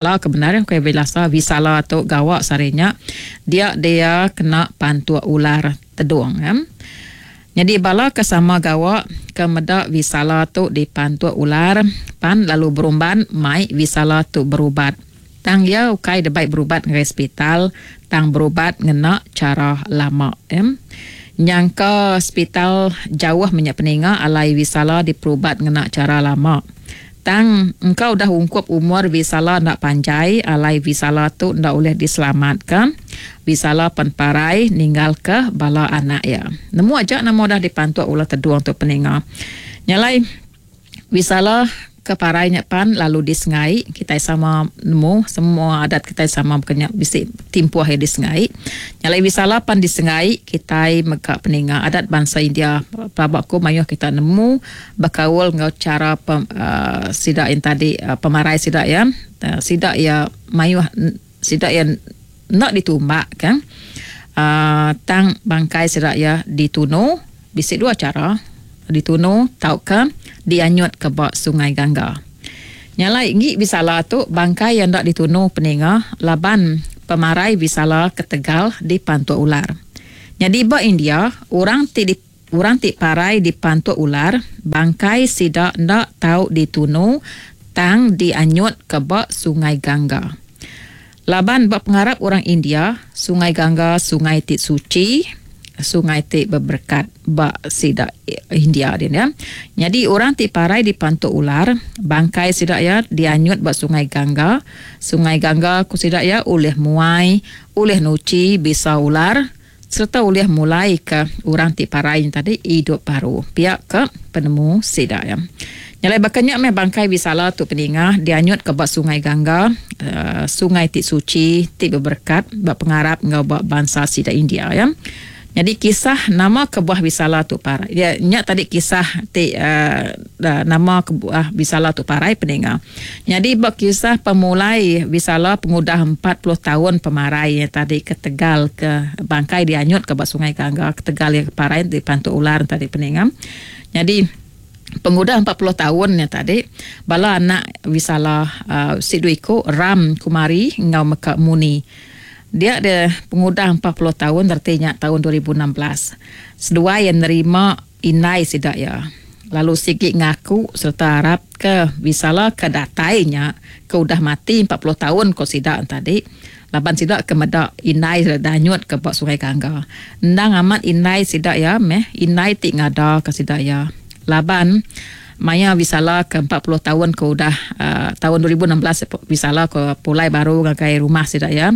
Ke bendar ukai Vilasa, Visala tu gawa sehari nya dia dia kena pantuk ular tedung. Nyadi bala ke sama gawa ke meda Visala tu dipantuk ular pan lalu berumban mai Visala tu berubat. Tang iya ukai debai berubat ngagai sepital tang berubat ngena chara lama. Nyangka sepital jauh menya peninga alai Visala diperubat ngena chara lama. Tang, engka udah ungkup umur Visala enda panjai alai Visala tu enda ulih diselamatka. Visala pen parai ninggalka bala anak iya. Nemu aja nama udah dipantuk ulah tedung tu peninga. Nya alai, Visala ke parai nya pan lalu disengai. Kitai sama nemu semua adat kitai sama baka nya bisi timpuh iya disengai. Nya alai Visala pan disengai kitai mega peninga adat bansa India. Pelaba ku mayuh kita nemu. Bekaul enggau chara sida yang tadi pemarai sida iya, sida iya mayuh sida iya enda ditumbak ka tang bangkai sida iya ditunu bisi dua chara ditunu tauka dianyut ka ba Sungai Gangga. Nya alai enggi Visala tu bangkai iya enda ditunu peninga laban pemarai Visala ketegal dipantuk ular. Nyadi ba India orang ti Orang ti parai dipantuk ular, bangkai sida enda tau ditunu tang dianyutka ba Sungai Gangga. Laban ba pengarap orang India, Sungai Gangga sungai ti suchi, sungai ti beberekat ba sida India din ya. Nyadi orang ti parai dipantuk ular, bangkai sida iya dianyut ba Sungai Gangga. Sungai Gangga ku sida iya ulih muai, ulih nuchi bisa ular. Sereta ulih mulaika orang ti parai nya tadi idup baru. Pia ke penemu sida iya. Nya alai baka nya meh bangkai Visala tu peninga dianyutka ba Sungai Gangga, sungai ti suchi ti beberekat ba pengarap enggau ba bansa sida India iya. Nyadi kisah nama kebuah Visala tu parai. Iya nya tadi kisah ti nama kebuah Visala tu parai peninga. Nyadi ba kisah pemulai Visala pengudah 40 taun pemarai iya tadi ketegal ke bangkai dianyut ke ba Sungai Gangga ketegal iya parai dipantuk ular tadi peninga. Nyadi pengudah 40 taun iya tadi bala anak Visala uhh sidu iku Ram Kumari enggau Meka Muni. Dia deh pengudah 40 taun reti nya taun 2016 seduai iya nerima Indai sida iya lalu sigi ngaku sereta arap ke Visala ke datai nya ke udah mati 40 taun ko sida tadi laban sida ke meda indai sida danyut ke ba Sungai Gangga. Endang amat indai sida iya meh indai ti ngada ke sida iya laban maya Visala ke 40 taun ke udah uhh taun 2016 Visala ke pulai baru ngagai rumah sida iya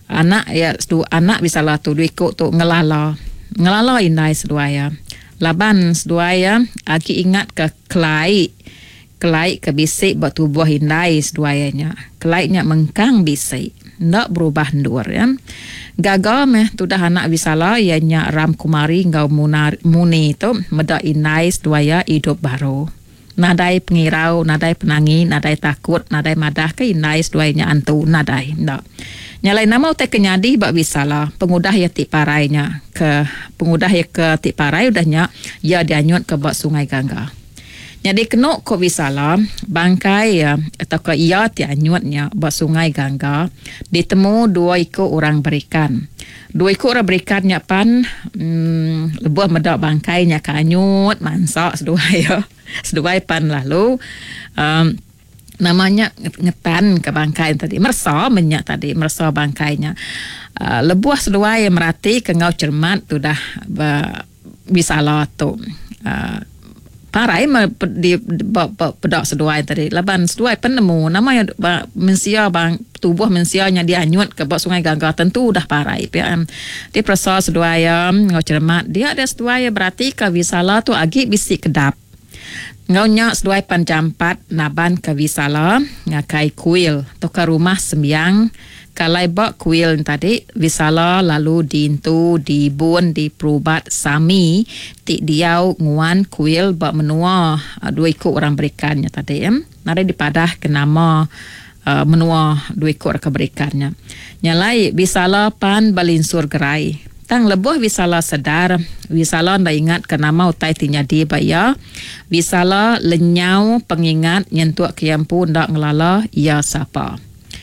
Anak iya anak Visala tu dua iku tu ngelala ngelala indai seduai iya. Laban seduai iya agi ingat ke kelai kelai ke bisi ba tubuh indai seduai iya nya. Kelai nya mengkang bisi enda berubah endur iya. Gaga meh tudah anak Visala iya nya Ram Kumari enggau Muni tu meda indai seduai iya idup baru. Nadai pengirau, nadai penangi, nadai takut, nadai madahka indai seduai nya antu, nadai. Enda. Nya alai nama utai ke nyadi ba Visala pengudah iya ti parai nya ke pengudah iya ke ti parai udah nya iya dianyutka ba Sungai Gangga. Nyadi kenu ku Visala, bangkai iya tauka iya ti anyut nya ba Sungai Gangga ditemu dua iku orang berikan. Dua iku orang berikan nya pan lebuh meda bangkai nya ke anyut mansa seduai iya. Seduai pan lalu uhh nama nya ngetan ke bangkai nya tadi meresa meh nya tadi meresa bangkai nya. uhh Lebuh seduai merati ke enggau cermat tudah ba Bisala tu uhh parai meh di ba peda seduai tadi laban seduai pen nemu nama iya ba mensia ba tubuh mensia nya dianyut ke ba Sungai Gangga tentu udah parai pia. Ti peresa seduai iya enggau cheremat dia deh seduai iya beratika Visala tu agi bisi kedap. Enggau nya seduai pan jampat naban ke Visala ngagai kuil tauka rumah sembiang Ke alai ba kuil nya tadi, Visala lalu diintu diibun diperubat Sami ti diau nguan kuil ba menua dua iku orang berikan nya tadi. Nadai dipadah ke nama menua dua iku orang ke berikan nya. Nya alai Visala pan belinsur gerai. Tang lebuh Visala sedar, Visala enda ingat ke nama utai ti nyadi ba iya. Visala lenyau pengingat nyentuk ke iya empu enda ngelala iya sapa.